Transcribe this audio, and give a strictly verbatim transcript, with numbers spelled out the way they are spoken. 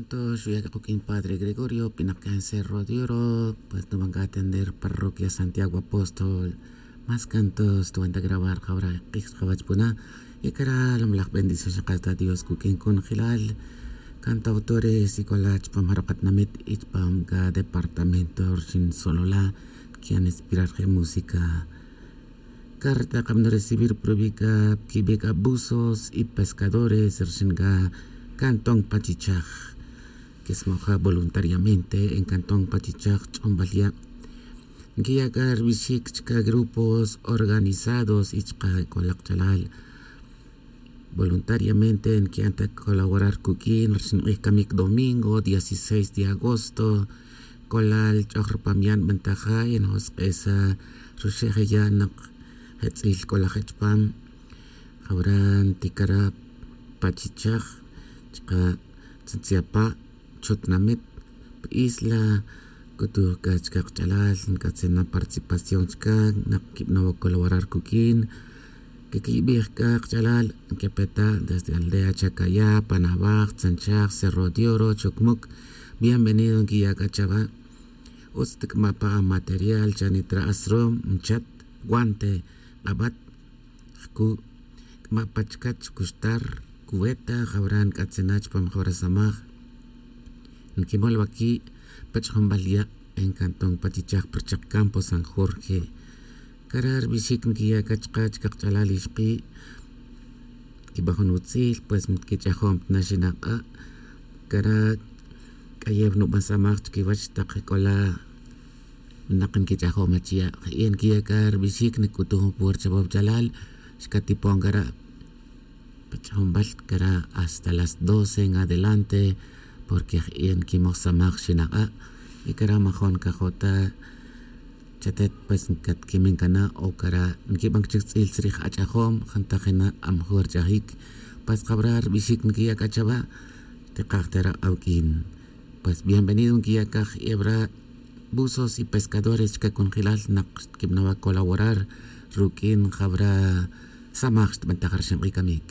Tox uya' k'uq'in padre Gregorio pinak cáncer rodioro, pues nuban k'a atender parroquia Santiago Apóstol. Más cantos tuban ta grabar jawra q'ij chqawach puna. Y kara' lomlaj bendición xaqata Dios kuk'in kunjilal cantautores y k'ola chupam jaro' qatinamit y chupam k'a departamento rixin Sololá kian inspirar je' música. Carta qamno recibir prubi k'a kibe k'a buzos y pescadores rixin k'a cantón Pachichaj. Kismoja voluntariamente en cantón Pachichaj ch'ombal ya' nkiya' k'a ribixik chka grupos organizados y chka k'ola qach'alal. Voluntariamente nki'an ta colaborar kuk'in rixin q'ij kamik domingo dieciséis de agosto. K'ola ch'oj rupam ya' nb'antaja' y njosk'esa' ruxe' je' ya' naq je' tz'il k'ola je' chupam. Jawra ntikara' pachichaj chka' tzitziapa' chutnamit pi isla. Kutuj k'a chka' qach'alal nk'atzin na participación chka' naq nkib'anow colaborar kuk'in. Kikiyib'ij k'a qach'alal nkepeta' desde aldea chacayá panabaj tzanchaj cerro de oro chocmuc. Bienvenido nkiya' k'a chawa'. Utz tik'ama' pa amaterial chanitra' asrom nchat guante q'ab'at jku' k'ama' pa chkach kuxtar kuweta jawra nk'atzin na chupam jawra samaj. Nkimol waki' pa ch'ajunb'al ya' en cantón pachichaj pa richaq campo san jorge. Kara' rib'ixik nkiya' k'a chka' chka' qach'alal ixqi' kib'an jun utzil pues mtkich'ajom ta na xinaq'a'. Kara' k'ayew nub'an samaj chkiwach taq k'ola naq nkich'ajom achiya' je' nkiya' k'a rib'ixik nk'utuj jun puercha wawchalal xkatipon kara' pa ch'ajunb'al kara' hasta las doce en adelante. Porque je' nkimoj samaj xinaq'a' y kara' majon kajo' ta chatet pues nkatkimin kana' o kara' nkib'an k'a chik tz'il tzrij ach'ajom jantaj jina' amajur ch'ajik. Pues jawra rib'ixik nkiya' k'a chawa' tikaj tera' awk'in. Pues bienvenido nkiya' k'a je' ewra' buzos y pescadores chka' kunjilal naq xtkib'anow colaborar ruk'in jawra samaj xtb'antaj rixin q'ij kamik.